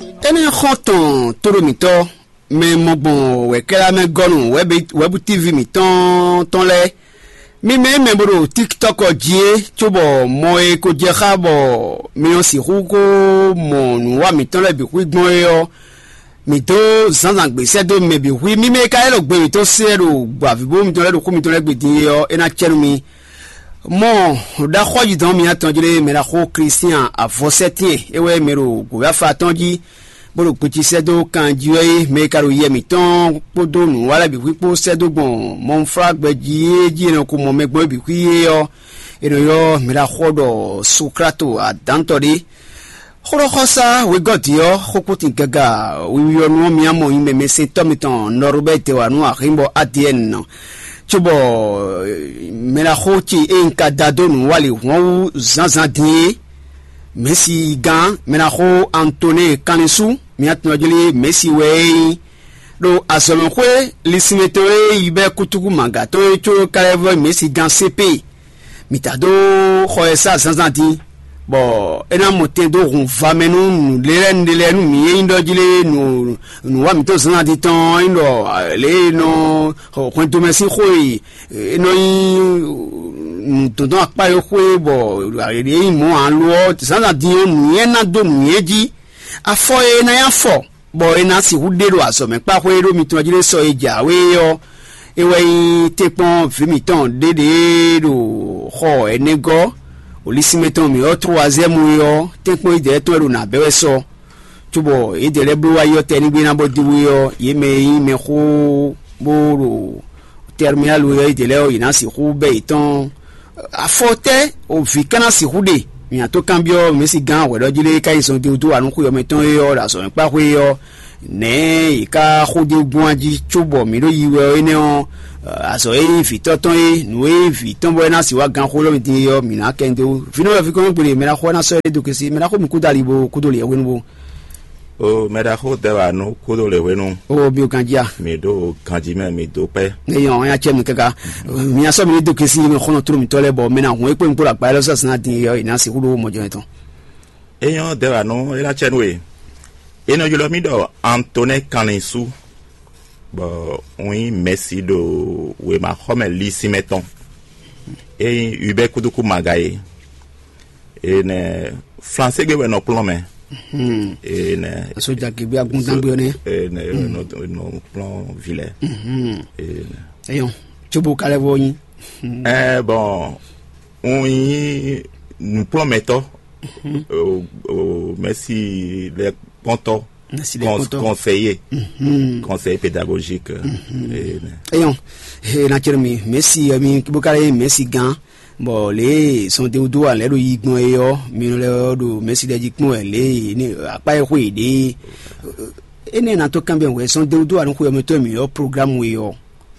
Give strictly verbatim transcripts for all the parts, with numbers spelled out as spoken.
Énɛ́ xɔ́n tɔn tóɖó mǐtɔn, mɛ mɔ gbɔn wɛ̌kɛ́lá mɛ gɔ́nu wɛ̌bu T V mǐtɔn tɔn lɛ́ɛ. Mi mɛ e mɛ bo ɖo TikTɔk jí é, cóbɔ mɔ e ko jɛ xá bɔ mi nɔ sixú ko mɔ nǔwa mǐtɔn lɛ́ɛ bǐ xwí gbɔn é ɔ́, mǐ dó zǎnzǎn gbě sɛ́ dó mɛ bǐ xwí. Mi mɛ e ka lɛ́ ɖo gbe mǐtɔn se wɛ ɖo gbɔ avǐbó mitɔn lɛ́ɛ ɖo xú mitɔn lɛ́ɛ gbe din é ɔ́, é ná cɛ nú mi. Mɔ ɖaxɔ́yidɔn mǐtɔn jlé mɛ ɖaxó Klístian avɔsɛ́tɛ́n é wɛ mɛ ɖo gǒyáfa tɔn jí, bó ɖo kpeci sɛ́ dó kan jí wɛ é. Mɛ e ka ɖo yɛ mǐtɔn kpódó nǔwalɛ bǐ xwí kpó sɛ́ dó gbɔn mɔnflágbɛ jí é jí è nɔ ko mɔ mɛ gbɔn é bǐ xwí é ɔ́, è nɔ ylɔ́ mɛ ɖaxó ɔ́ ɖɔ Sokláto adǎntɔ́ ɖé. Xóɖɔxɔsá wegɔ́ din ɔ́, xókútin gaga wiwi ɔ́ nu ɔ́, mǐ mɔ nyí mɛmɛsɛntɔ́ mitɔn Nɔrubɛ́ dɛ wǎ nú Axínbɔ Adiyɛ́ɛn, cóbɔ mɛɖaxó ce e un ka da dó nǔ wá lě hwɔ́n wú zǎnzǎn din é, Mɛ̌si gán mɛɖaxó Antonɛ́ɛ Kanlin sú, mǐ tunwun jí lé Mɛ̌si wɛ é nyí. Ɖo azɔ̌mɛxwé linsinmɛ tɔn e yi bɛ́ kútúkú mǎga tɔn é có ka lɛ́ vɔ́ Mɛ̌si gán C P. Mǐ ta dó xɔ ɛ sá zǎnzǎn din, bɔ é ná mɔ tɛn dó hun va mɛ nú nǔɖé lɛ́ɛ nǔɖé lɛ́ɛ nú mǐ e nyí ɖɔ jí lé nǔ nǔwa mǐtɔn zǎnzǎn din tɔn ɔ́, nyí ɖɔ lě e nɔ hwɛndo mɛ sín xó e é nɔ nyí nǔdɔndɔn akpá e xwé bɔ é nyí mɔ̌ ǎ lo ɔ́, zǎnzǎn din ɔ́, nǔnywɛ́ ná dó nǔnywɛ́ jí. Afɔ e é ná nyí afɔ bɔ è nǎ sixú ɖe ɖo azɔ̌mɛkpáxwé ɖó mitɔn jí ɖé sɔ e jǎwe ɔ́, é wɛ nyí tɛ́nkpɔ́n vǐ mǐtɔn ɖěɖě ɖo xɔ ɛnɛgɔ́, olisínmɛ tɔn mǐ ɔ́, troazɛ́mu é ɔ́, tɛ́nkpɔ́n idɛɛ tɔn e ɖo nǎ bɛ́ wɛ sɔ, cóbɔ yědɛɛ lɛ́ɛ bló wá yi ɔ́ tɛnígbe ná bɔ dó wé ɔ́, yě mɛ e nyí mɛxó bó ɖo tɛrminálu ɔ́, yědɛɛ lɛ́ɛ ɔ́, yě ná sixú bɛ́ yětɔn. Afɔ tɛ́ o vǐ ka ná sixú ɖe? Mǐ ná tó kanbyɔ́ mɛ̌si gán hwɛɖɔ́jí lé ká nyi zɔn dó wá nú xwe ɔ́ mɛ tɔn é ɔ́, ɖo azɔ̌mɛkpáxwé ɔ́, nɛ̌ è ká xó dó gbɔn jí cóbɔ mǐ ɖo yi wɛ ɔ́ énɛ́ ɔ́, azɔ̌ e nyí vǐtɔ́ tɔn é, nǔ e nyí vǐ tɔn bɔ é ná sixú wá gán xó lɔ́ mì din é ɔ́, mǐ ná kɛ dó. Vǐnɔ́ wɛ fí kɔn gbele mɛ ná xó ná sɔ́ é dó kesi, mɛ ná xó mì kúdó ali bo kúdó lǐ hwenu bo. O mɛ ɖaxó dɛ wá nú kúdó lě hwenu. O mi ò ganjí a? Mi ɖo ganjí mɛ, mi dó pɛ́. Eyɔn ɔ́ ya cɛ mi káká. Mi asɔ mi ní dó kesi mi xɔnɔ tló mitɔ́ lɛ́ɛ bɔ mɛ ná hun é kpé mi kpó ɖo akpa élɔ́ sɔ́ sin ná din yɔ ìná sixú ɖó mɔjɔ yɛn tɔn. Eyɔn dɛ wá nú é ná cɛ nú e. É nɔ ylɔ́ mì ɖɔ Antonɛ́ Kanlin sú, bɔ un nyí mɛ̌si ɖo wěmaxɔmɛ lísínmɛ tɔn. É nyí Hubert Kuduku Maga é. Enɛ Flansé gbe wɛ nɔ kplɔ́n mɛ. Enɛ Aso jagegbe agundan gbe ɔnɛ. Enɛ nɔ nɔ kplɔ́n vi lɛ. Enɛ Eyɔn, tsobo kalɛ vɔ nyi. Ɛ bɔn un nyí nukplɔ́nmɛtɔ́, o o mɛsi lɛ kpɔntɔ. Mɛsi lɛ kpɔntɔ. Conseiller, conseiller pédagogique. Enɛ Eyɔn, e na cɛ mi mɛsi mi bó kalɛ mɛsi gan. Bɔ lě e sɔn de wúdú wà lɛ́ ɖo yi gbɔn é ɔ́, mi lɛ́ ɔ́ ɖo mɛsi lɛ́ jí kpɔ́n wɛ lě e ní akpá e xwe yě ɖe é. Énɛ́ ná tó kanbyɔ́ wɛ sɔn de wúdú wà nú xwe ɔ́ mɛ tɔn mǐ ɔ́ programu e ɔ́,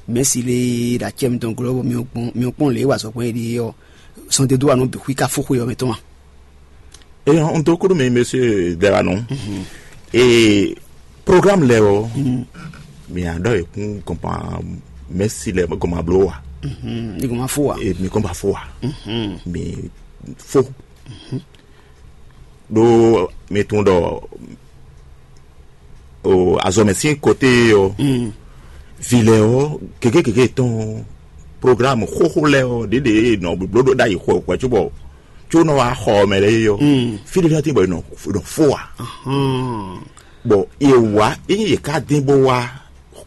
mɛsi lé ɖo acɛ mitɔn glɔ́ bɔ mi kpɔn lě e wa sɔkpɔn é ɖe ɔ́, sɔn de wúdú wà nú bǐ xwí ká fó xwe ɔ́ mɛ tɔn ma. Eyɔn un dó kúɖú mi, monsieur Dɛwanu. Ee, programme lɛ ɔ, mi a ɖɔ ekun gɔnpa mɛsi lɛ gɔnpa blo wa. Ní kò máa fó wa. Ee, mi gɔnpa fó wa. Mi fó. Ɖó mi tún ɖɔ o azɔmɛ sín kote ɔ, vi lɛ ɔ gege gege tɔn programme xóxó lɛ ɔ ɖeɖe nɔ bló ɖo ɖ'ayǐ xɔ xɔ cóbɔ, có nɔ wá xɔ mɛ lɛ yɔ. Fí ɖé fín bɔ nɔ nɔ fó wa. Bɔn yě wá, ényí yě ká dín bó wá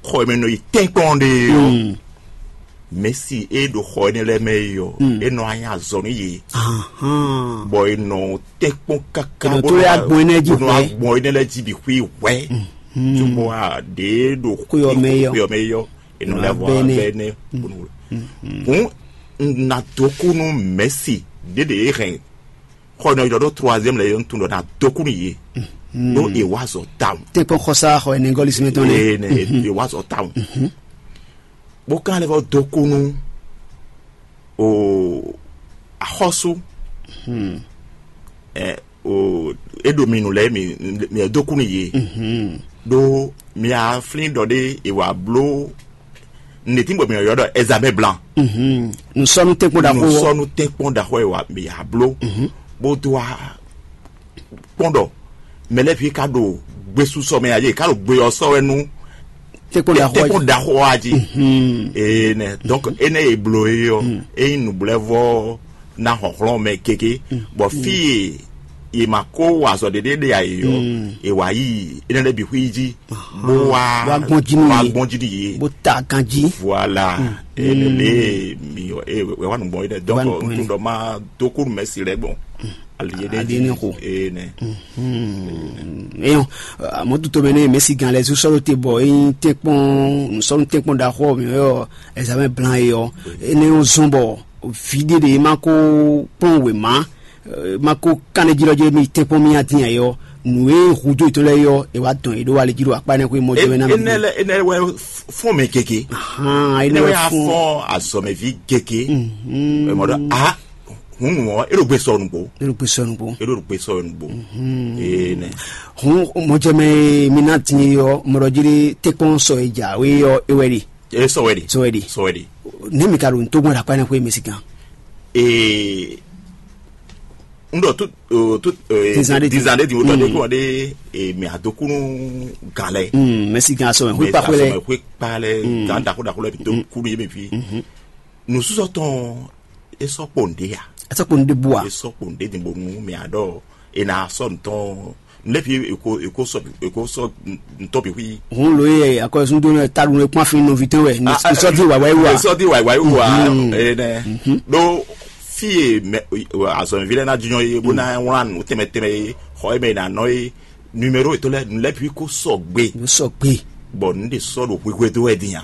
xɔ mɛ nɔ yi tɛ́nkpɔ́n ɖe ɔ, mɛsi e ɖo xɔ énɛ́ lɛ́ɛ mɛ é ɔ́, é nɔ anyi azɔ̌ nú yě. Bɔ è nɔ tɛ́nkpɔ́n káká bó nɔ agbɔn énɛ́ jí bó nɔ hwɛ̌. Agbɔn énɛ́ lɛ́ɛ jí bǐ xwí hwɛ̌. Cóbɔ a ɖě ɖo xwé ɔ́ mɛ yɔ. Xwé ɔ́ mɛ yɔ. È nɔ lɛ́ vɔ abɛ énɛ́. Hǔn un ná dó kú nú mɛ̌si ɖěɖě e hɛn xɔ nɔ ylɔ́ ɖó troisième lɛ yɔ, un tunwun ɖɔ ná dó kú nú yě. Ɖó è wá azɔ̌ tawun. Tɛ́nkpɔ́n xɔsá xɔ ɛnɛ gɔ́lísí mɛ tɔn nɛ. Ee nɛ è wá azɔ̌ tawun. Bó ká lɛ́ vɔ dó kú nú o axɔ́sú. Ɛ o é ɖo mi nǔ lɛ́ɛ mi mi dó kú nú yě. Ɖó mi a flín ɖɔ ɖé è wǎ bló nɛ̌tín bɔ mi ylɔ́ ɖɔ ɛzabɛ́ blan. Nǔsɔ́nú tɛ́nkpɔ́n ɖaxó ɔ́. Nǔsɔ́nú tɛ́nkpɔ́n ɖaxó è wǎ mi a bló. Bó dó wá kpɔ́n ɖɔ mɛ lɛ́ɛ ví ka ɖo gbesúsɔ mɛ ǎ, yě ká ɖo gbe ɔ́ sɔ́ wɛ nú tɛ́nkpɔ́n ɖaxó ɔ́ jí. Ee nɛ, donc énɛ́ e bló é ɔ́, é nyí nǔblɛ́vɔ́ ná hlɔ̌nhlɔ́n mɛ kéké, bɔ fí e yě ma ko wa azɔ̌ ɖéɖé ɖe ǎ é ɔ́, è wǎ yi énɛ́ lɛ́ɛ bǐ xwí jí, bó wá wá gbɔn jí nú wá yě, gbɔn jí nú yě. Bó ta ganjí. Voilà. Ene lé mi ɔ e wɛ wa nùgbɔn yi dɛ, donc nùgbɔn yi dɛ. Ntun dɔ ma dó kó mɛ si lɛ gbɔn. Ali ye de ali ne ko. Ene. Eyɔn, mɔ tuto mɛ ne mɛ si gan lɛ zu sɔlo te bɔ eyin tɛnkpɔn sɔlu tɛnkpɔn da xɔ mi yɔ ɛzamɛ blan yi ɔ ene yɔ zɔn bɔ vi de de ma ko kpɔn wema. Ma ko kanɛ jí lɔ jí mi tɛnkpɔn mi atin ayɔ nǔ e hu jó itɔn lɛ yɔ e wa dɔn e ɖó ali jí ɖo akpa ne xwe mɔ jɛ mɛ na mi. Enɛ lɛ enɛ wɛ fɔn mɛ keke. Ahan, enɛ Enɛ wɛ wɛ fɔn. Afɔn azɔmɛvi keke. Mɔ ɖɔ a hun nu ɔ eɖo gbe sɔ nugbo. Eɖo gbe sɔ nugbo. Eɖo gbe sɔ nugbo. Ee nɛ. Hun mɔ jɛ mɛ mi na tin yɔ mɔ ɖɔ jí tɛnkpɔn sɔ e ja we yɔ e wɛ ɖi. E sɔ wɛ ɖi. Sɔ wɛ ɖi. Sɔ wɛ ɖi. Ne mi ka ɖo ntogbɔn ɖo akpa ne xwe mi si kan. Ee n ɖɔ tout tout Dizan ɖe din. Dizan ɖe din o tɔ ɖe kɔ ɖe emi adokunu gan lɛ. Mɛsi gan asɔmɛ xwe kpa xwe lɛ. Xwe kpa lɛ gan dako dako lɛ bi to kunu ye mi fi. Nusɔsɔ tɔn esɔ kpo nde ya. Esɔ kpo nde bua. Esɔ kpo nde din bonu mi adɔ ena sɔ ntɔn ne fi eko eko sɔ eko sɔ ntɔ bi hui. Hun lo ye akɔsun do ne ta ɖu ne kpɔn fi nɔvi tɔn wɛ ne sɔ di wa wa yi wa. Sɔ di wa wa yi wa. Ene. Ɖo fi e mɛ azɔnvi lɛ na jɔnyɔ ye bó na wlán nǔ tɛmɛ tɛmɛ ye xɔ ye mɛ na nɔ ye numéro etɔn lɛ nu lɛ bi ko sɔgbe. Sɔgbe. Bɔn nu de sɔ ɖo hwehwe do wɛ din ya.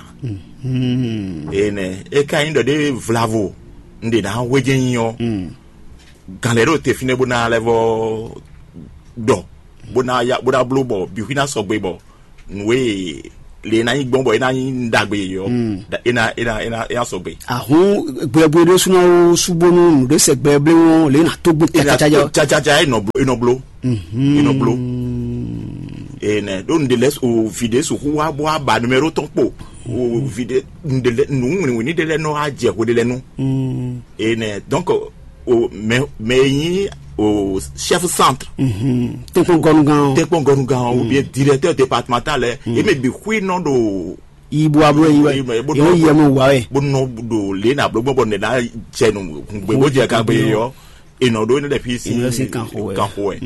Ene e ka nyi ɖɔ ɖe vlavo n de na hwedze nyi ɔ. Gan lɛ ɖo te fínɛ́ bó ná lɛ́ vɔ ɖɔ bó ná ya bó ná bló bɔ bixwí ná sɔgbe bɔ nǔ e le ná nyí gbɔn bɔ é ná nyí ɖagbe yɔ é ná é ná é ná é ná sɔgbe. Ahun gbɛgbɛ ɖé súná ó súbónú nǔɖé sɛ gbɛ blé wɔn lě ná tó gbé cacaca jɔ. Cacaca é nɔ bló é nɔ bló é nɔ bló. Ene ɖó nu ɖe lɛ o vi ɖe su hu wa bɔ aba numéro tɔn kpo o vi ɖe nu ɖe lɛ nu wini wini ɖe lɛ nɔ wa jɛ hwe ɖe lɛ nu. Ene donc o mɛ mɛ yi o chef centre. Tɛnkpɔn gɔnugán o. Tɛnkpɔn gɔnugán o bien directeur départemental lɛ eme bi xui nɔ ɖo. Ibu abo yi wɛ. Ibu abo yi yɛ mo wa wɛ. Bo nɔ ɖo le na blo gbɔ nɛ na jɛ nu gbe bo jɛ kagbe yɔ enɔ ɖo ne ɖe fi si. Enɔ si kan xo wɛ. Kan xo wɛ.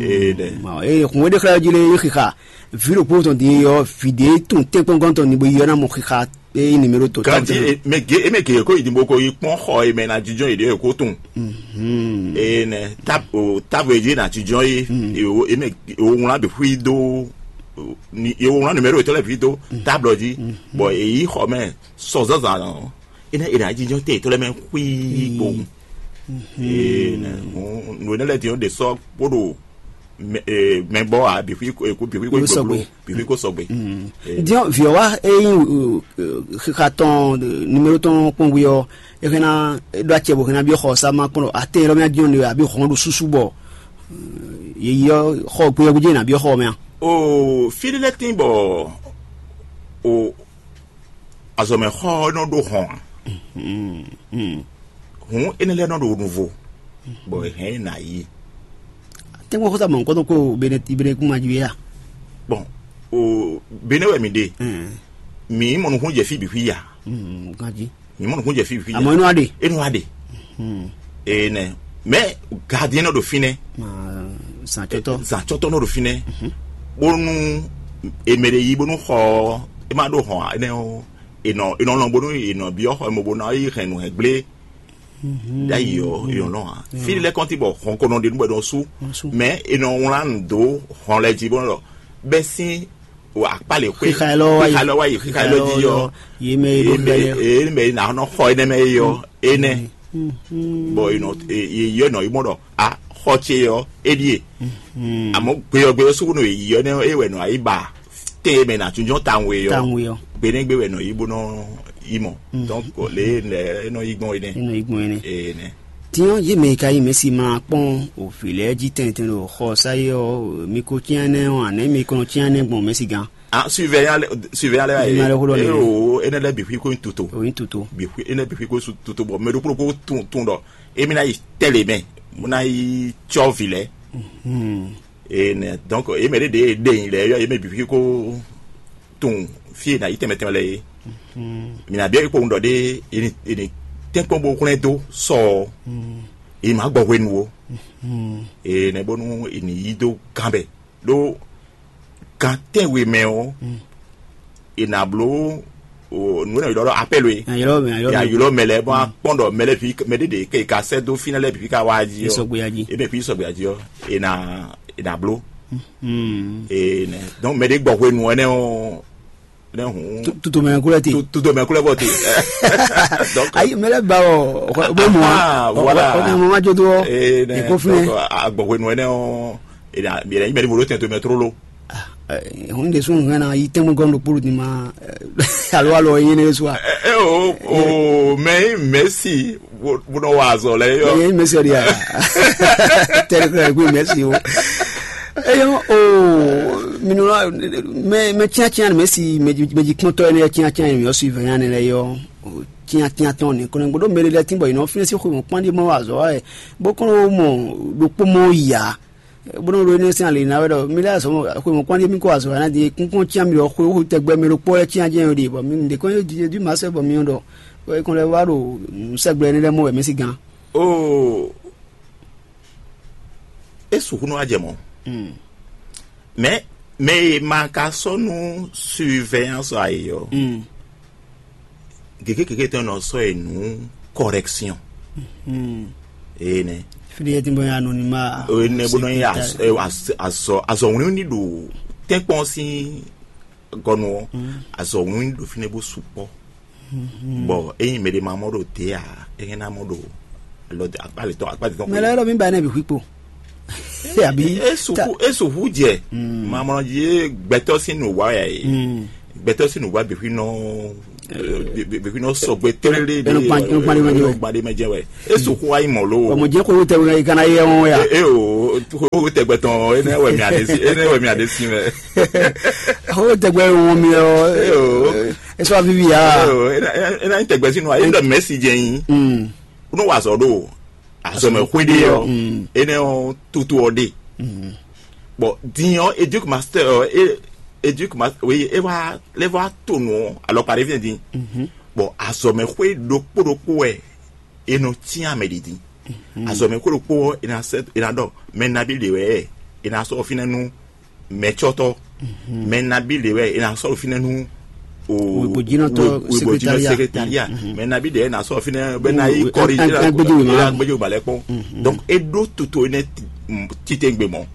Ee ɖe. Ee kun wɛ de xlɛ ji le yi xixa. Vi ɖokpo tɔn din yɔ vi de tun tɛnkpɔn gɔn tɔn ni bo yɔ na mo xixa. Ee numéro to. Kan di e me ge e me ge ko idimbo ko yi kpɔn xɔ e mɛ na jijɔ yi de ko tun. Ee nɛ tab o tab e di na jijɔ yi e o e me o ŋlɔ be hui do ni e o ŋlɔ numéro etɔn lɛ vi do table di bɔn e yi xɔ mɛ sɔ zazan ɔ e na e na jijɔ te etɔn lɛ mɛ hui bo. Ee nɛ nu ne lɛ di o de sɔ kpo do mɛ bɔ a bi hui ko bi hui ko Yóò sɔgbe. Bi hui ko sɔgbe. Diɔ viɔ wa eyi xixa tɔn numéro tɔn kpɔn wi ɔ e hɛn na ɖo acɛ bo hɛn na bi xɔ sa ma kpɔn ate yɔrɔ mi adiɔ ne abi hɔn ɖo susu bɔ yeyi ɔ xɔ gbeyɔ gbedze na bi xɔ mɛ a. O fi ɖe lɛ tin bɔ o azɔmɛ xɔ nɔ ɖo hɔn a. Hǔn énɛ́ lɛ́ɛ nɔ ɖo nuvo, bɔ è hɛn ɛ nǎ yi. Tɛ́nkpɔ́n xó sa mɔ nukɔn tɔn kpó Benɛkúmají wɛ a? Bɔn o Benɛ wɛ mi ɖe, mi mɔ nukún jɛ fí bǐ xwí ya. Ganjí. Mi mɔ nukún jɛ fí bǐ xwí ya. Àmọ́ inú wa ɖe. Inú wa ɖe. Ee nɛ mɛ gadiɛn nɔ ɖo fínɛ́. Zàncɔtɔ. Zàncɔtɔ nɔ ɖo fínɛ́. Bónú emɛ ɖe yí bónú xɔ ɛ má ɖó hɔn énɛ́ ɔ́, è nɔ è nɔ lɔn bónú è nɔ byɔ́ xɔ ɛ mɔ bó ná yi hɛn nǔ hɛn gblé. Ɖ'ayǐ ɔ́, è nɔ lɔn ǎ. Fí lɛ́ kɔn ti bɔ hɔn ko nɔ ɖe nú bɔ è nɔ sú. Mɛ è nɔ wlán nǔ dó hɔn lɛ́ɛ jí bó nɔ ɖɔ bɛ́ sín akpá lě xwé. Xixa élɔ́ wá yi. Xixa élɔ́ wá yi, xixa élɔ́ jí ɔ́. Yě mɛ e ɖo gbɛ lɛ. Yě mɛ e nǎ nɔ xɔ énɛ́ mɛ é ɔ́, énɛ́. Bɔ è nɔ yě yɔ nɔ yi mɔ ɖɔ a xɔ ce ɔ́, é ɖíe. Àmọ́ gbeyɔgbeyɔ sukunu yě yɔ nɛ é wɛ nɔ ayi ba tɛn e mɛ nà tún jɔn tawun e yɔ. Tawun e yɔ. Gbeɖégbé wɛ nɔ yi bó nɔ yi mɔ. Donc lě lɛ é nɔ yi gbɔn énɛ́. É nɔ yi gbɔn énɛ́. Énɛ́. Tiɲɔ yé mɛ ka yi mɛ si ma kpɔn o vǐ lɛ́ɛ jí tɛntɛn ɖo xɔ sa yi ɔ́ mi ko cyán nɛ́ ɔ́ anɛ̌ mi ko nɔ cyán nɛ́ gbɔn mɛ si gán. Ah, surveillant lɛ surveillant lɛ Surveillant lɛ xó lɔ nɛ. Ero ene lɛ bi hui ko tuto. O yin tuto. Bi hui ene bi hui ko tuto bɔ mɛ ɖokpo ɖokpo tun tun ɖɔ emi na yi tɛlɛ mɛ mo na yi tsɔ vi lɛ. Ee nɛ, donc, yě mɛ ɖě ɖě e ɖe nyi lɛ́ɛ yɔ yě mɛ bǐ ko tunwun fí e nǎ yi tɛnmɛ tɛnmɛ lɛ́ɛ é. Mǐ ná byɔ́ yě kpowun ɖɔ ɖé, è nǐ è nǐ tɛ́nkpɔ́n bó hwlɛ́n dó sɔ ɔ́, è má gbɔ hwenu ó. Ee nɛ bónú è nǐ yí dó gán bɛ ɖó gan tɛ́nwe mɛ ɔ́, è nǎ bló nǔ e nɔ ylɔ́ ɖɔ apɛ́lu é. Ylɔ́ mɛ ylɔ́ mɛ ylɔ́ mɛ lɛ́ɛ bɔ a kpɔ́n ɖɔ mɛ lɛ́ɛ bǐ mɛ ɖé ɖě ke ka sɛ́ dó fínɛ́ lɛ́ɛ bǐ ká wá jí ɔ́, sɔgbe ya jí. Ebe fí sɔgbe ya jí ɔ́, è nǎ è nǎ bló. Ee nɛ, donc mɛ ɖé gbɔ hwenu ɛnɛ ɔ́, nɛ hǔn tutomɛ kulɛ te. Tutomɛ kulɛ bɔ te. Donc ayi mɛ lɛ ba ɔ bó mɔ ah, voilà. Ɔkọ mɔ ma jó tó ɔ. Ee nɛ, èkó fún yẹn. Donc agbɔ hwenu ɛnɛ ɔ́, è nà è nà yí mɛ ní vodó tɛn tomɛ tlóló. Hun de sun hɛn na yi tɛnmɛ gɔn ɖo kpolu ni ma alo alo yi ne so a. Ɛ o o mɛ yi mɛsi bó nɔ wa azɔ lɛ yɔ. Ye mɛsi ɔdi a. Tɛri kura gbe mɛsi o. Eyɔ o minnu la mɛ mɛ tiatia mɛsi mɛji kpɔntɔ yɛ ne tiatia yɛ mi ɔsu vɛ yan ne lɛ yɔ. Tiatia tɔn ni kɔnɔ gbɔdɔ mɛ de lɛ tin bɔ yi nɔ finɛ si xo mɔ kpɔn di mɔ wa azɔ wa yɛ bó kɔnɔ mɔ ɖokpó mɔ ya. Bónú ɖo énɛ́ sín ali ná wɛ ɖɔ mi lɛ́ɛ azɔ̌ xwe mɔ̌kpán ɖé mì kó azɔ̌ ná din kúnkún cyán mi ɖɔ xwe xwe tɛgbɛ mi ɖokpó lɛ́ɛ cyán jɛ́n ɖe bɔ mi ɖe kɔn Jezu ma sɛ́ bɔ mi ɖɔ é kɔn lɛ́ wá ɖo nǔsɛ́gbla énɛ́ lɛ́ɛ mɔ wɛ mɛ sín gán. Oo, é sixú nɔ wá jɛ mɔ̌. Mɛ mɛ e ma ka sɔ́ nú surveillance ǎ é ɔ́, gěgé gěgé tɔn nɔ sɔ́ e nǔ correction. Ee nɛ. Fili yɛ ti bɔ ya anonymat. Ee nɛ bó nɔ nyi azɔ azɔ wlíwlí ɖo tɛ́nkpɔ́n sín gɔnu ɔ́, azɔ wlíwlí ɖo fínɛ́ bó sukpɔ́. Bɔ ényí mɛ ɖé ma mɔ ɖo dě ǎ, é hɛn ná mɔ ɖo alɔ akpá lětɔn akpá lětɔn. Mɛ lɛ́ɛ ɖɔ mi ba nɛ bǐ xwí kpo. Àbí e sùkú e sùkú jɛ mamlɔ jí gbɛtɔ sín nǔ wa yà yìí. Gbɛtɔ sín nǔ wa bìxwí nɔ bìxwí nɔ sɔgbe télé de gbadé mɛ jɛ wɛ. E sùkú wa yi mɔ lo. Ọmọ jẹ́ kó tẹ wíwá yìí kana yẹ wọn ya. E o kó tẹ gbẹtọ ẹ náà wẹ̀ mi àdé sí ẹ náà wẹ̀ mi àdé sí mẹ. Ó tẹ gbẹ wọn mi ọ. E o. Ẹ sọ àbí bi ya. E o ẹ náà tẹ gbẹ sínú ayé ndọ mẹ́sì jẹ yín. Ó ní wàá sọ dó. Azɔmɛ xwéɖé ɔ́, énɛ́ ɔ́, tutu ɔ́ ɖe. Bɔn din ɔ́, éduc master ɔ́, éduc master, oui, é wá lé wá to nǔ ɔ́ alɔkpa ɖé fínɛ́ din. Bɔn azɔmɛ xwé ɖokpó ɖokpó wɛ è nɔ cyán mɛ ɖi din. Azɔmɛ xwé ɖokpó ɔ́, è nǎ sɛ è nǎ ɖɔ mɛ nabí ɖě wɛ è nǎ sɔ́ fínɛ́ nú mɛcɔ́tɔ́, mɛ nabí ɖě wɛ è nǎ sɔ́ ɖo fínɛ́ nú wěgbojínɔtɔ́, wěgbojínɔ secrétariat. Mɛ nabí ɖě è nǎ sɔ́ ɖo fínɛ́ bɛ ná yí kɔri agbéjewé ma lɛ kpɔn. Donc é ɖó toto énɛ́ titengbe mɔ,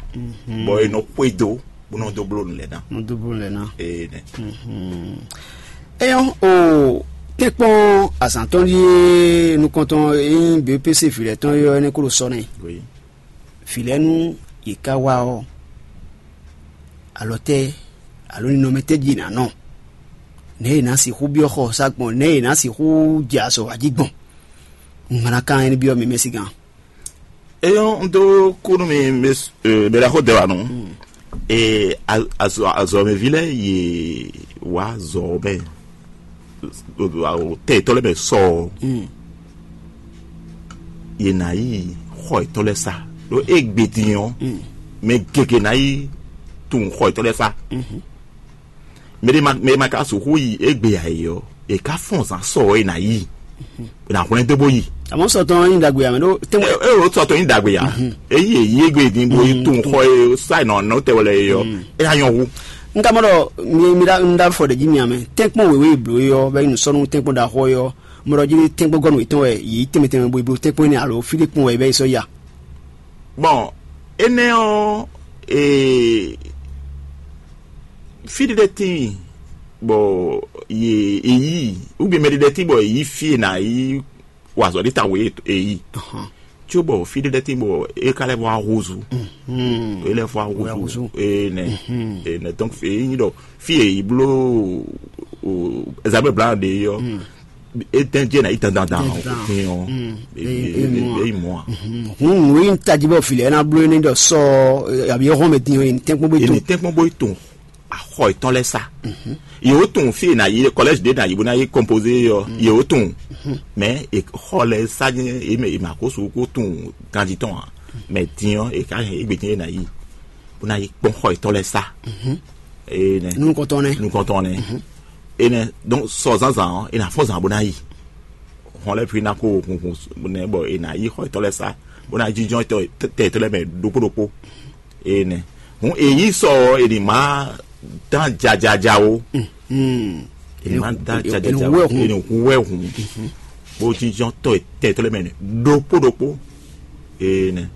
bɔ è nɔ xwedó bó nɔ dó bló nǔ lɛ́ɛ ná. Nɔ dó bló nǔ lɛ́ɛ ná. Ee nɛ. Eyɔn o tɛkpɔn azǎntɔn ɖíe nukɔntɔn eyín běpése vǐ lɛ́ɛ tɔn yɔ énɛ́ kó ɖo sɔ́ nɛ. Vǐ lɛ́ɛ nú yě ká wá ɔ́, alɔ tɛ́ alo ninɔmɛ tɛ́ jí è nǎ nɔ? Nɛ̌ è nǎ sixú byɔ́ xɔ ɔ́ sá gbɔn? Nɛ̌ è nǎ sixú jɛ azɔ̌ wa jí gbɔn? Un hɛn ná kan énɛ́ byɔ́ mi mɛ sígán. Eyɔn un dó kú nú mi mɛɖaxó dɛwanu. Ee, azɔ̌mɛví lɛ́ɛ yě wá azɔ̌ mɛ tɛ yětɔn lɛ́ɛ mɛ sɔ ɔ́, yě ná yi xɔ yětɔn lɛ́ɛ sa. Ɖó égbe din ɔ́, mɛ gěgé ná yi tunwun xɔ yětɔn lɛ́ɛ sa. Mɛ ɖé ma mɛ ma ka sixú yi égbe ǎ é ɔ́, è ká fɔ́n zǎn sɔ ɔ́ è nǎ yi, è nǎ hwlɛ́n dó bó yi. Àmọ́ sɔtɔn yín dagbe àmì ɖó tɛ́nwɛ. É ò sɔtɔn yín dagbe ya. Èyí èyí égbe din bó yi tún xɔ e sáì nɔ nɔ tɛ wɛlɛ é ɔ́, é yá nyɔ hu. N ka mɔ ɖɔ mi mi ɖa n ɖa fɔ ɖe jí mi amɛ tɛnkpɔn wěwé blo yɔ bɛ nu sɔnu tɛnkpɔn ɖaxɔ yɔ mɔ ɖɔ jí tɛnkpɔn gɔnu etɔn wɛ yě tɛmɛ tɛmɛ bo blo tɛnkpɔn ne alo fí ɖé kpɔn wɛ bɛ sɔ ya. Bɔn énɛ́ ɔ́, ee, fí ɖé lɛ́ɛ tíin bɔ yě èyí, ugbɛn mɛ ɖé lɛ́ɛ tíin bɔ èyí fí e nǎ yi wa azɔ̌ ɖé tawun e yi. Có bɔ fí ɖé lɛ́ɛ tíin bɔ é ka lɛ́ vɔ ahúzú. É lɛ́ vɔ ahúzú. Enɛ enɛ donc èyí ɖɔ fí e yi bló ɛzabɛ bla ɖe yɔ. Eden jẹ́ na yi dandan dan. Òfin ɔ èyí mọ́ a. Hun nù yín tají bɔ filɛ ɛna blo ɛni dɔ sɔ àbí ɛhɔn mɛ dín yín tɛnkpɔn bɛ tó. Ènì tɛnkpɔn bó tó. Axɔ ìtɔn lɛ sa. Yòó tún fi na yi kɔlɛji de na yi bó na yi kɔmpoze yɔ yòó tún. Mɛ xɔ lɛ sa ní èmɛ èmà kó su kó tún ganji tɔn a. Mɛ dín ɔ èka hɛn égbè dín yé na yi. bó ná yi kpɔ́n xɔ yětɔn lɛ́ɛ sá. Énɛ́. Nukɔntɔn nɛ́. Nukɔntɔn nɛ́. Énɛ́, donc sɔ zǎnzǎn ɔ́, é ná fɔ́n zǎn bó ná yi. Hɔn lɛ́ɛ fí ná kó hunhun nɛ́ bɔ è nǎ yi xɔ yětɔn lɛ́ɛ sá, bó ná jínjɔ́n tɛ yětɔn lɛ́ɛ mɛ ɖokpó ɖokpó. Énɛ́. Hǔn è yí sɔ ɔ́, è nǐ má dán jajaja ó. È nǐ má dán jajaja ó. È nǐ hu wɛ hǔn. Bó jínjɔ́n tɔ tɛ yětɔn lɛ́ɛ mɛ ɖokpó ɖokpó. Énɛ́.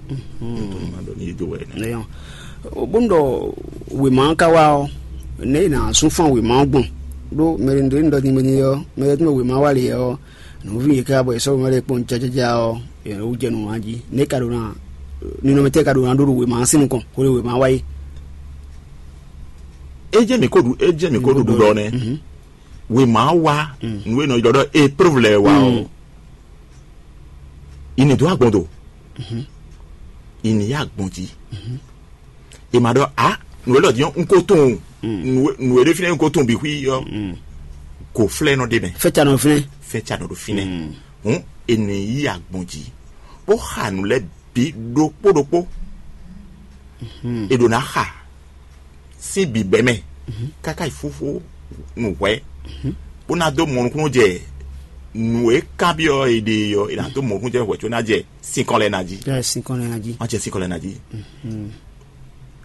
Nítorí má ɖɔ ní yí dó wɛ nɛ́. Nɛyɔn. Bónú ɖɔ wěma ɔ́ ka wá ɔ́, nɛ̌ è nǎ sú fán wěma ɔ́ gbɔn? Ɖó mɛ e ɖo ní ɖɔ din mɛ din ɔ́, mɛ e tún ɖo wěma wa lě ɔ́, nǔví yě ká bɔ è sɔ́ wěma lɛ́ɛ kpɔ́n jájájá ɔ́, è nǎ wú jɛ nǔ wan jí. Nɛ̌ ka ɖo ná ninɔmɛtɛ́ ka ɖo ná ɖó ɖo wěma ɔ́ sín nukɔn, xwé ɖo wěma wa é? É jẹ́ mǐ ko ɖu é jẹ́ mǐ ko ɖuɖu ɖɔ nɛ́. Wěma wa nǔ e nɔ ylɔ́ ɖɔ épreuve lɛ́ɛ wa ɔ́, i ní dó agbɔn do, i ní yá agbɔn jí. È ma ɖɔ a nǔ e lɔ din ɔ́, un ko tunwun nǔ e ɖe fínɛ́ un ko tunwun bǐ xwí ɔ́, go flɛ́ nɔ ɖe mɛ. Fɛ́ ca nɔ flɛ́. Fɛ́ ca nɔ ɖo fínɛ́. Hǔn è nǐ yí agbɔn jí bó xa nǔ lɛ́ɛ bǐ ɖokpó ɖokpó. È ɖǒ ná xa sín bǐbɛ́ mɛ káká yi fúfú nǔ hwɛ́, bó ná dó mɔ nukúnnú jɛ nǔ e kanbyɔ́ è ɖe ɔ́, è nǎ dó mɔ nukúnnú jɛ hwɛ̌ có ná jɛ sinkɔn lɛ́ɛ ná jí. Jɛ sinkɔn lɛ́ɛ ná jí. Má jɛ sinkɔn lɛ́ɛ ná jí.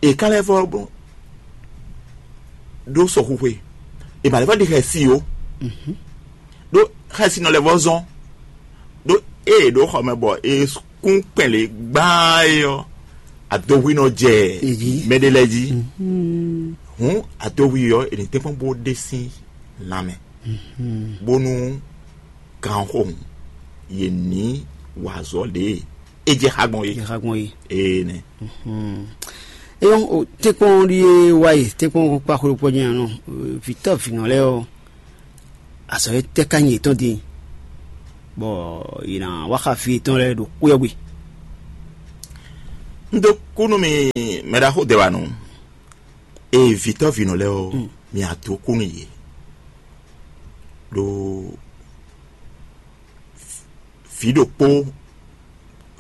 È ka lɛ́ vɔ ɖó sɔxuxwe, è ma lɛ́ vɔ ɖi xɛsi ó, ɖó xɛsi nɔ lɛ́ vɔ zɔn, ɖó ée ɖǒ xɔ mɛ bɔ è kún kpɛn lě gbáá é ɔ́, adohwi nɔ jɛ mɛɖé lɛ́ɛ jí. Hǔn adohwi ɔ́, è nǐ tɛ́nkpɔ́n bó ɖe sín lanmɛ, bónú ganxóhun yě ní wa azɔ̌ ɖě e é jɛ xá gbɔn é. Jɛ xá gbɔn é. Ee nɛ. Eyɔn o tɛ́nkpɔ́n ɖíe wá yi tɛ́nkpɔ́n kpá xwé kpɔ́ jɛ́n nɔ vǐtɔ́ vǐnɔ lɛ́ɛ ɔ́, azɔ̌ e tɛ́ ká nyi yětɔn din, bɔ yě ná wá xa vǐ yětɔn lɛ́ɛ ɖo xwé ɔ́ gbe. Un dó kú nú mi, mɛɖaxó Dɛwanu. Ee, vǐtɔ́ vǐnɔ lɛ́ɛ ɔ́, mi adó kú nú yě. Ɖó vǐ ɖokpó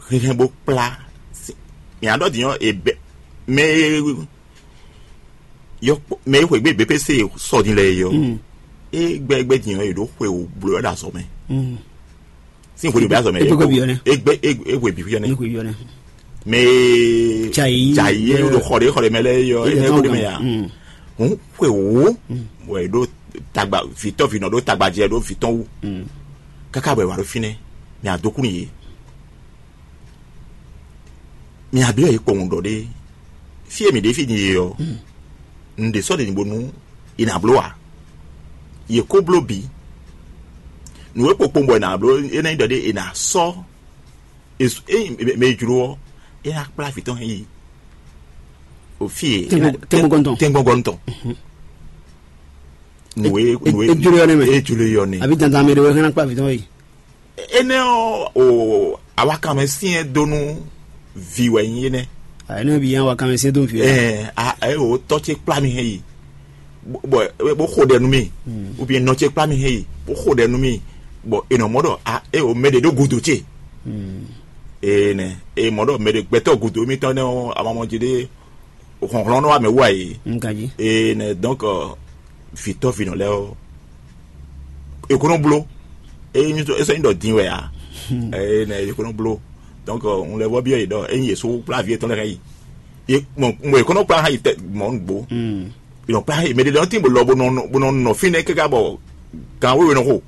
hɛnhɛn bó kplá. Mǐ ɖɔ din ɔ́, è bɛ mɛ e yɔ mɛ e xweyǐgbe B P C sɔ din lɛ́ɛ é ɔ́, é gbɛ́ gbɛ́ din ɔ́, è ɖǒ xwe wǒ bló ɛ ɖo azɔ̌ mɛ. Sín xwe ɖě bɛ azɔ̌ mɛ. É gbɛ́ é xwe bǐ xwíyɔ nɛ́. Mɛ e Jai. Jai e ɖo xɔ ɖě xɔ ɖě mɛ lɛ́ɛ é yɔ é nɛ́ xɔ ɖě mɛ ya. Hǔn xwe wǒ bɔ è ɖó tagba vǐtɔ́ vǐnɔ ɖó tagba jɛ ɖó vǐtɔ́n wú. Káká bɔ è wǎ ɖó fínɛ́, mǐ adó kú nú yě. Mǐ abyɔ́ yě kpɔ́n ɖɔ ɖé, fí e mǐ ɖe fí din e ɔ́, un ɖě sɔ́ ɖe bónú è nǎ bló ǎ. Yě ko bló bǐ. Nǔ e kpokpowun bɔ è nǎ bló é ná nyí ɖɔ ɖé è nǎ sɔ́ è su- ényí mɛ e jló ɔ́, é ná kplá vǐ tɔn yi o fí e Tɛ́ngbɔ́- tɛ́ngbɔ́gɔ́n tɔn. Tɛ́ngbɔ́gɔ́n tɔn. Nǔ e nǔ e É jló yɔ nɛ́ mɛ. É jló yɔ nɛ́. Àbí dandan mɛ ɖé wɛ hɛn ná kplá vǐ tɔn yi? Énɛ́ ɔ́, o awakanmɛ syɛ́n dó nú vǐ wɛ nyí énɛ́. Àyè náà bí yẹn awakanmɛ syɛ́n dó nú vǐ wɛ. Ɛɛ a ɛ o tɔ́ ce kplá mi hɛn yi, bɔ bɔ xo ɖɛ nú mi, ou bien nɔ ce kplá mi hɛn yi, bó xo ɖɛ nú mi, bɔ è nɔ mɔ ɖɔ a é o mɛ ɖě ɖó gǔdo ce. Ee nɛ, e mɔ ɖɔ mɛ ɖě gbɛtɔ́ gǔdo mitɔn nɛ́ ɔ́, amamɔjí ɖé hlɔ̌nhlɔ́n nɔ wá mɛ wú a yě. Nkají. Ee nɛ donc vǐtɔ́ vǐnɔ lɛ́ɛ ɔ́, è ko nɔ bló. É nyí é sɔ́ nyí ɖɔ din wɛ ǎ. Ee nɛ è ko nɔ bló. Donc un lɛ́ vɔ byɔ́ yě ɖɔ ényí yě sú kplá vǐ yětɔn lɛ́ɛ xá yi. Yě mɔ mɔ è ko nɔ kplá xá yi tɛ mɔ nǔgbó. È nɔ kplá xá yi mɛ ɖé lɛ́ɛ tín bó lɔ bó nɔ bó nɔ nɔ fínɛ́ káká bɔ gan wéwe nɔ xo.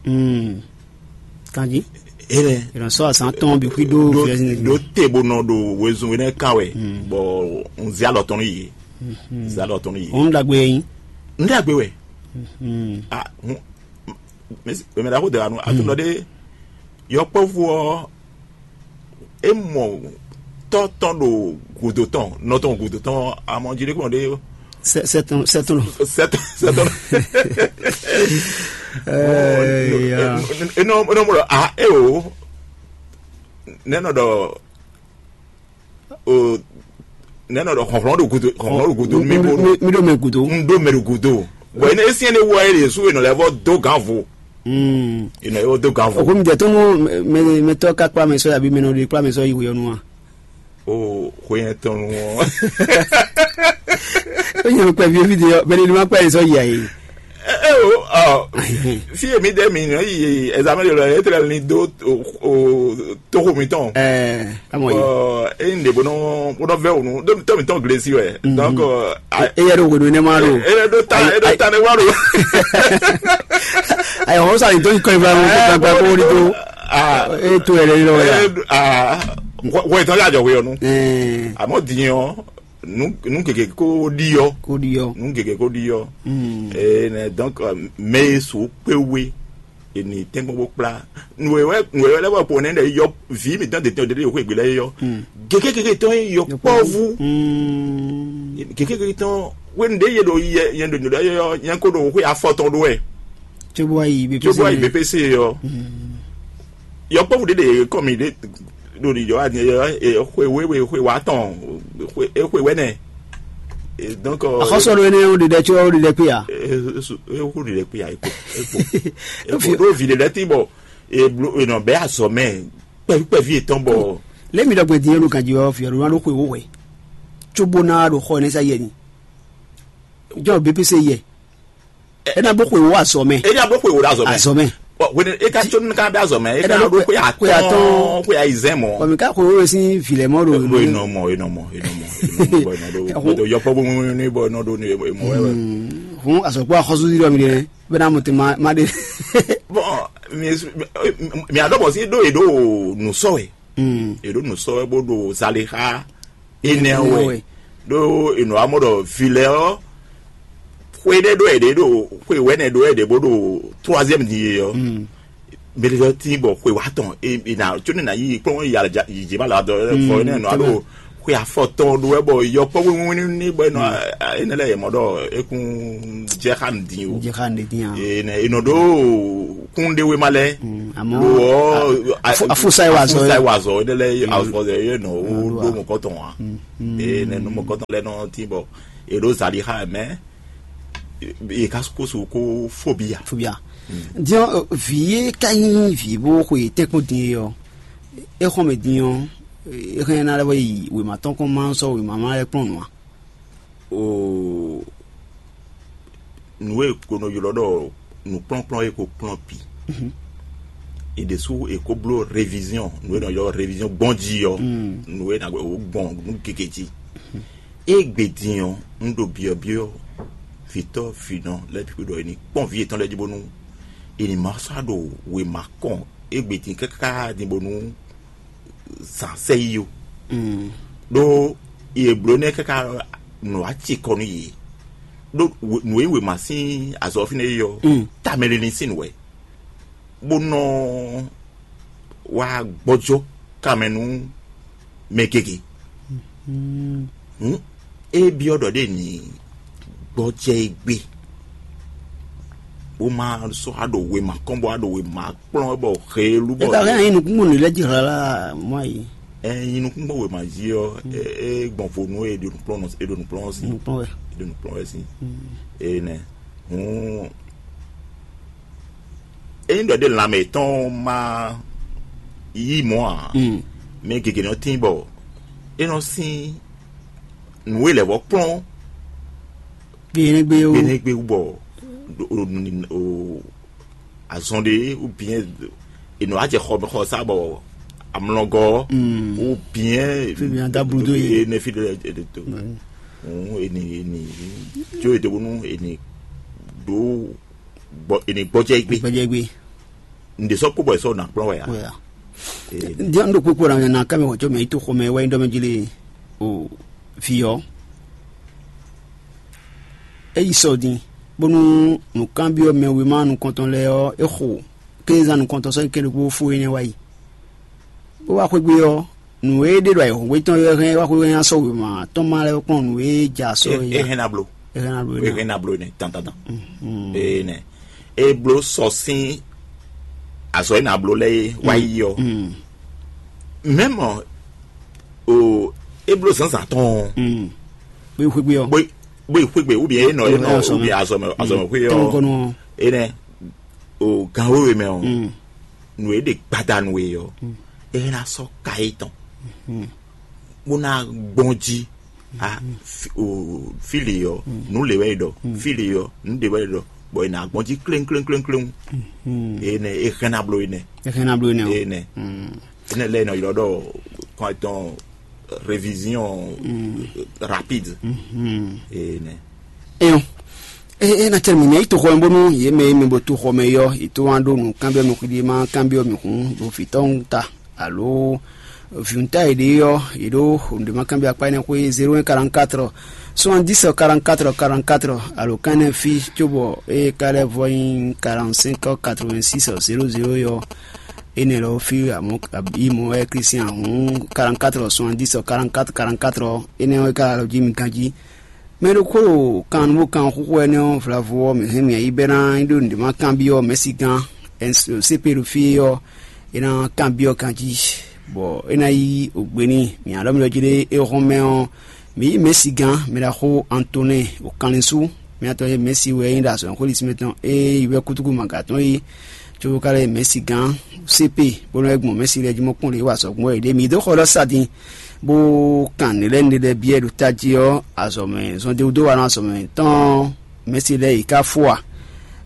Kanjí. Énɛ́. È nɔ sɔ́ azǎn tɔn bǐ xwí ɖó ɖó vǐ ɛ́ sín ɖó te bó nɔ ɖo wezun énɛ́ kan wɛ, bɔ un zé alɔ tɔn nú yě. Un zé alɔ tɔn nú yě. Òun ɖagbe yín. Un ɖagbe wɛ. Ah, hun- mɛ mɛ ɖaxó dɛwanu atunɔ ɖé yɔkpɔ́vú ɔ́, é mɔ tɔ́ tɔn ɖo gǔdo tɔn, nɔ tɔn gǔdo tɔn, amɔ jí ɖé kplɔn ɖé. Sɛ sɛ tɔn sɛ tɔn. Sɛ tɔn sɛ tɔn. Ɛɛ, ya. Enɔ enɔ mɔ a e o nɛ nɔ ɖɔ o nɛ nɔ ɖɔ xɔxlɔn ɖo gudo xɔxlɔn ɖo gudo mi bo mi ɖo mɛ gudo. N ɖo mɛ ɖo gudo. Bɔn ene esi ene wɔ eye su enɔ lɛ vɔ do gan vo. Enɔ lɛ vɔ do gan vo. Okomi jɛ tɔnu mɛ mɛ tɔ ka kpla mɛ sɔ yabi mɛ nɔ ɖe kpla mɛ sɔ yi wuyɔnu wa. O hwe nyɛ tɔn nu ɔ́. Ó nyɛ kpɛ ví fí de ɔ́, bɛ́ni ní ma kpɛ yɛ sɔ́ yi ayé. Eo, ɔ, fí èmi ɖe mi nɔ yi ɛzamɛ ɖe lɔ, e tlɛ ni dó o, o, toxo mitɔn. Ɛɛ, amɔ yi. Ɔ, e yin ɖe bó nɔ bó nɔ vɛ wonu, ɖo tɔ mitɔn glesi wɛ. Donc, ɔ, a- E yɛ ɖo hwenu énɛ́ ma ɖo. E ɖo ta, e ɖo ta ne wa ɖo. Ayi, ɔn sa yi dɔnyi kɔn ibrahim ko gbagba ko wuli do. Ah, E to yɛ lɛ yɔ ya. Eh, ah, wɔ wɔ itɔ ya jɔ hwe ɔnu. Ɛɛ, Àmọ́ diyan, nu nu gègé kó ɖi yɔ. Ko ɖi yɔ. Nu gègé kó ɖi yɔ. Mm. Eh, ne, donc, euh, mɛ e so kpé we, e ni tɛngbɔn bó kplá. Nùwẹ̀wẹ̀ nùwẹ̀wẹ̀ lɛ́ bɔ pò nɛ ɖe yɔ vi mi tán de tɛn de de xwe gbe lɛ yɔ. Gègé gègé tɔn yɔ kpɔvu. Mm. Gègé gègé tɔn wé nu ɖe ye ɖo yɛ yɛ ɖo ɖo yɔ yɛ ko ɖo xwe afɔ tɔn ɖo wɛ. Tsobo ayi B P C. Tsobo ayi B P C yɔ. Yɔkpɔ́vú ɖé ɖe kɔmi ɖé ɖo ɖiɖɔ wá din, xwe wéwe, xwe wátɔn, xwe wɛnɛ. Donc, Axɔsɔ ɖo énɛ́ ó ɖiɖɛ có ó ɖiɖɛ kpé ya. Ewu ɖiɖɛ kpé ya, eko eko eko ɖo vi ɖe lɛ ti bɔ eblo enɔ bɛ azɔ mɛ kpɛvi kpɛvi etɔn bɔ. Lé mi ɖɔgbe din elu kan ji wɛ ɔ́ fi ɔ́ ɖo ná ɖo xwe wó hwɛ. Tsobo ná ɖo xɔ énɛ́ sa yɛ ni. Jɔ B P C yɛ. Ena bó xwe wo azɔ mɛ. Ena bó xwe wo ɖo azɔ mɛ. Azɔ mɛ. Ɔ, wene e ka tso ne ka ɖo azɔ mɛ, e ka ɖo xwe atɔn, xwe ayizɛn mɔ. Kɔmi ka xwe wo sín vi lɛ mɔ ɖo. Bo inɔ mɔ, inɔ mɔ, inɔ mɔ, inɔ mɔ, bɔ inɔ ɖo, bɔ yɔkpɔ bo mu ni bɔ inɔ ɖo ni mɔ wɛ. Hun azɔkpɔ axɔsu di dɔ mi ɖe bena mo te ma ma ɖe. Bon, mi mi adɔ bɔ si ɖo e ɖo nu sɔ wɛ. E ɖo nu sɔ wɛ bo ɖo zalixa. Enɛ wɛ ɖó enɔ amɔ ɖɔ vi lɛ ɔ xwe ɖe ɖó ɛɖe ɖo xwe wɛnɛ ɖó ɛɖe bó ɖo troisième din ye ɔ. Mɛɖeɖɔ tí bɔ xwe wa tɔn e e na tso ne na yi kplɔn yi alaja yi jɛ ba la dɔ fɔ ne nɔ alo xwe afɔtɔn ɖó wɛ bɔ yɔkpɔ wínwín ní bɔ enɔ enɛ lɛ yɛ mɔ ɖɔ ekun jɛ xa nu din o. Jɛ xa nu din a. Enɛ enɔ ɖó kún ɖe wema lɛ. Amɔ lo ɔ afusa yi wa zɔ afusa yi wa zɔ enɛ lɛ afɔ yɛ nɔ wo ɖó mɔkɔtɔn wa. Enɛ nɔ mɔkɔtɔn lɛ nɔ tí bɔ eɖo zali xa mɛ. E ka ko su ko fobia. Fobia. Diɔ vi ye ka nyi vi bó xwe tɛkpɔn din ye ɔ. E xɔn mɛ din ɔ. E xɛn na lɛ wɛ yi wema tɔn kɔn ma sɔ wema ma lɛ kplɔn nua. O nǔ e ko nɔ ylɔ́ ɖɔ nǔkplɔ́nkplɔ́n e ko kplɔ́n bǐ. È ɖésú è ko bló réviziɔn, nǔ e nɔ ylɔ́ réviziɔn gbɔn jí ɔ́, nǔ e nǎ gbɔ gbɔn nú gěgé jí. Égbe din ɔ́, un ɖo byɔ̌byɔ́ vǐtɔ́ vǐnɔ lɛ́ɛ bǐ xwé ɖɔ è nǐ kpɔ́n vǐ yětɔn lɛ́ɛ jí bónú è nǐ ma sɔ́ ɖo wěma kɔn égbe din káká din bónú zǎn sɛ yi ó. Ɖó yě bló nɛ́ káká nǔ wá ci kɔ nú yě. Ɖó nǔ e wěma sín azɔ̌ fínɛ́ yi ɔ́, tamɛ lili sín nǔ wɛ, bó nɔ wá gbɔjɔ kanmɛ nú mɛ gěgé. Hǔn é byɔ́ ɖɔ ɖé ní gbɔjɛ e gbé, bó má sɔ́ wá ɖo wěma kɔn bó wá ɖo wěma kplɔ́n wɛ bɔ heelú bɔ. Eka hɛn yin nukúnmɔ nǔ lɛ jí hlala mɔ yi. Ɛ yin nukúnmɔ wěma jí ɔ́, é gbɔn vo nú é ɖo nukplɔ́n é ɖo nukplɔ́n sí. Nukplɔ́n wɛ. É ɖo nukplɔ́n wɛ sí. Énɛ́. Hǔn ényí ɖɔ ɖé lanmɛ tɔn ma yí mɔ̌ ǎ, mɛ gěgé nɔ tín bɔ é nɔ sín nǔ e lɛ̌ vɔ kplɔ́n. Gbeɖé gbé wú. Gbeɖé gbé wú bɔ azɔn ɖé wú bǐ è nɔ wá jɛ xɔ xɔ sá bɔ amlɔgɔ wú bǐ Fíbi nya dá blú dó yě. Ene fi ɖe to. Eni eni tso e ɖe bónú eni ɖó gbɔ eni gbɔjɛ gbe. Gbɔjɛ gbe. Ǹdè sɔ kpó bɔ è sɔ nà kplɔ́n wɛ ya. Wɛ ya. Diɛ ŋɖo kpokpo ɖe na kámi wòtso mɛ yi to xɔmɛ wɛ ŋɖɔ mɛ jlé o fi ɔ. Eyi sɔ din bónú nǔkanbyɔ́ mɛ wěma nukɔntɔn lɛ́ɛ ɔ́, é xo kézan nukɔntɔn sɔ́ kɛ́ɖokpó fó énɛ́ wá yi. Bó wá xwé gbe ɔ́, nǔ e ɖe ɖo ayǐhɔ́ngbe tɔn é hɛn wá xwé hɛn asɔ wěma tɔn ma lɛ́ kplɔ́n nǔ e ja sɔ é ya. Hɛn na blo. É hɛn na blo é hɛn na blo énɛ́ tantantan. Énɛ́ é bló sɔ sín azɔ é na bló lɛ́ɛ é wá yi ɔ́. Mɛmɔ o é bló zǎnzǎn tɔn ɔ́. Bó yi xwé gbe ɔ́. Bó yi xwé gbe ou bien é nɔ é nɔ ou bien azɔ mɛ azɔ mɛ xwé ɔ́. Énɛ́ o gan wéwe mɛ ɔ́, nǔ e ɖe gbadanu e ɔ́, é ná sɔ́ ka é tɔn. bó ná gbɔn jí. A, fi- o, fí lě ɔ́, nǔ lě wɛ é ɖɔ. Fí lě ɔ́, nǔ ɖě wɛ é ɖɔ. Bɔ è nǎ gbɔn jí kléŋkléŋkléŋkléŋ. Énɛ́ é hɛn ná bló énɛ́. Éhɛn ná bló énɛ́ o. Énɛ́. Énɛ́ lɛ́ɛ nɔ ylɔ́ ɖɔ kɔn tɔn révision rapide. Énɛ́. Eyɔn. E e na cɛ mi nɛ yi toxɔ mɛ bónú yě mɛ e mi bo toxɔ mɛ yɔ yi tó wán ɖó nǔ kanbyɔ́ mi xwíɖí ma kanbyɔ́ mi hǔn ɖo vǐtɔ́ ta alo vǐwunta e ɖe ɔ́ yě ɖó nǔɖé ma kanbyɔ́ akpá énɛ́ xwé zéro un quarante-quatre soixante-dix quarante-quatre quarante-quatre alo kán énɛ́ fí cóbɔ ée ka lɛ́ vɔ nyí quarante-cinq quatre-vingt-six zéro zéro yɔ énɛ́ lɔ fí amɔ̌ yi mɔ̌ wɛ Klísián hǔn quarante-quatre soixante-dix quarante-quatre quarante-quatre énɛ́ ɔ́ é ka lɔ jí mi ganjí. Mɛ ɖokpó ɖo kan bó kan xúxú ɛnɛ́ ɔ́ vlavo ɔ́, mǐ hɛn mǐ yi bɛ́ ná nyí ɖó nǔɖé ma kanbyɔ́ mɛ̌si gán C P ɖo fí ɔ́, é ná kanbyɔ́ ganjí, bɔ é ná yí ògbé n'i. Mǐ alɔ mì ɖɔ jí ɖé é hɔn mɛ ɔ́, mǐ yí mɛ̌si gán mɛ ɖaxó Antonɛ́ɛ ɖo kanlin sú. Mǐ atɔn e mɛ̌si wɛ é nyí ɖo azɔ̌ xwé ɖisí mɛtɔn é yi wɛ kútúkú maga tɔn é, cóbó ka lɛ́ mɛ̌si gán C P bó nɔ́ gbɔn mɛ̌si lɛ́ɛ jí mɔ kpɔ́n lě wa sɔgbɔn é ɖě mǐ dó xɔ ɖɔ sa din bó kan nǔ lɛ́ɛ nǔɖé lɛ́ɛ byɔ́ ɖo tají ɔ́, azɔ̌mɛ zɔndéwúdó wa nɔ azɔ̌mɛ tɔn mɛ̌si lɛ́ɛ yi ká fó a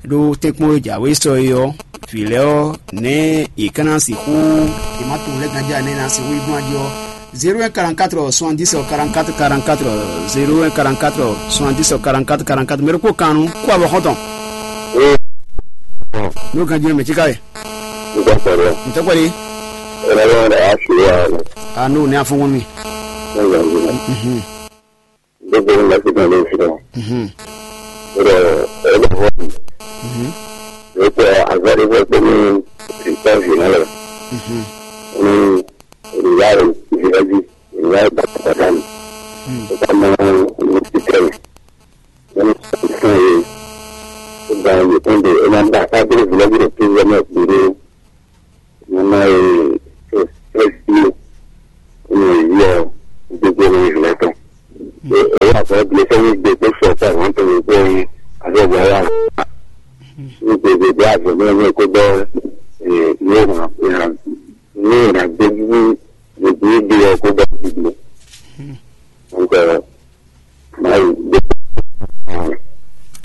ɖó tɛ́nkpɔ́n e jǎwe sɔ é ɔ́, vǐ lɛ́ɛ ɔ́, nɛ̌ yě ká ná sixú yě má tunwun lɛ́ɛ ganjá nɛ́ ná sixú yi gbɔn ají ɔ́, zéro un quarante-quatre soixante-dix quarante-quatre quarante-quatre zéro un quarante-quatre soixante-dix quarante-quatre quarante-quatre mɛ ɖokpó kan nú kó abɔ xɔ́ntɔn. Ní o ganjí mɛ mɛ tíká yɛ. Nígbà pẹ̀lú Ntɔkpɛli. Ẹ̀rọ lọ́wọ́ rẹ̀ á ṣe wá rẹ̀. A n'o ní afɔngɔn mi. Nígbà yìí, Mhm. Gbogbo ní láti gbọ́n lórí fún wọn. Mhm. Ó dẹ̀ ẹ bá wọ́n mi. Mhm. Ó tẹ àgbáde fẹ́ pé ní ìtọ́jú náà lọ. Mhm. Ní ìyá rẹ̀ ìfìdájú, ìyá rẹ̀ bá pàdánù. Mhm. Ó bá mọ ní títẹ̀ rẹ̀. Wọ́n ní sọ̀rọ̀ fún ẹ. Ó gba ẹ̀yìn tó ń bẹ̀ ẹ̀ máa ń bá a ká dé ìfìdájú rẹ̀ tó ń yẹ náà pé ní Mama e to fɛsi ne yi ɔ gbogbo ne yi lɛ tɔn. Eya fɔ gbe fɛn gbe kpe sɔ ta wọn to gbe yi azɔ bɔ ya. Ni gbe gbe gbe azɔ ne ne ko bɔ ne na ne na gbe